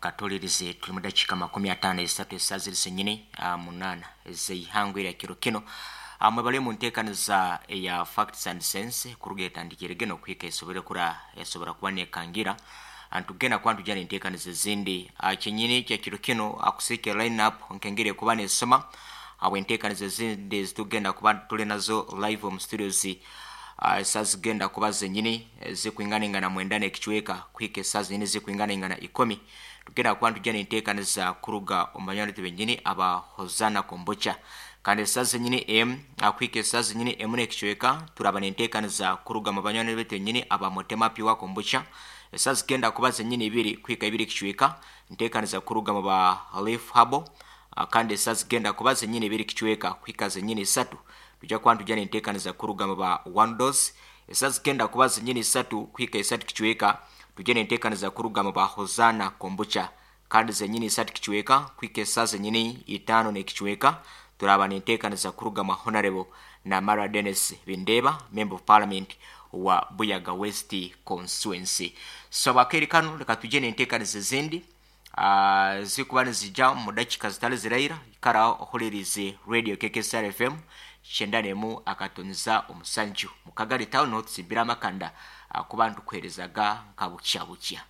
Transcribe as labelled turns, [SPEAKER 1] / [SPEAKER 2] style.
[SPEAKER 1] Katulirize, tuli mu dakiika 53 esaa ziri zenyini 8 ez'eihangwe erya kiro kino. Mwebale mu nteekaniza eya Facts and Sense, kuruga etandikire geno kuhika esobole kura esobora kuba nekangira. Ntugenda kuba ntujja n'enteekaniza ezindi. Kyenyini kya kiro kino akusiike line up nkengeri ekuba nesoma habw'enteekaniza ezindi ezitugenda kuba tuli nazo live omu studios. Esaa zigenda kuba zenyini zikwinganaingana 9 n'ekicweka kuhika esaa zenyini zikwinganaingana 10, tugenda kuba ntujja n'enteekaniza kuruga omu banywani baitu benyini aba Hosana Kombucha. Kandi esaa zenyini 1 kuhika esaa zenyini 1 n'ekicweka, turaba n'enteekaniza kuruga mu banywani baitu benyini aba Motema Pure Kombucha. Esaa zigenda kuba zenyini 2 kuhika 2 kicweka, nteekaniza kuruga mu ba Leaf Herbal. Kandi esaa zigenda kuba zenyini 2 kicweka kuhika zenyini 3, tujja kuba ntujja n'enteekaniza kuruga mu ba One Dose. Esaa zigenda kuba zenyini 3 kuhika 3 kicweka, tujja n'enteekaniza kuruga mu ba Hosana Kombucha. Kandi zenyini 3 kicweka kuhika esaa zenyini 5 n'ekicweka, turaba n'enteekaniza kuruga mu Honorable Namara Dennis Bindeba, Member of Parliament wa Buyaga West Constituency. So abakeri kano, leka tujje n'enteekaniza ezindi zikuba nizija mu dakiika zitali ziraira. Ikara ohulirize Radio KKSR FM 91.7 mu Kagali Town, tusimbira amakanda kuba ntukuherezaga nka bukya bukya.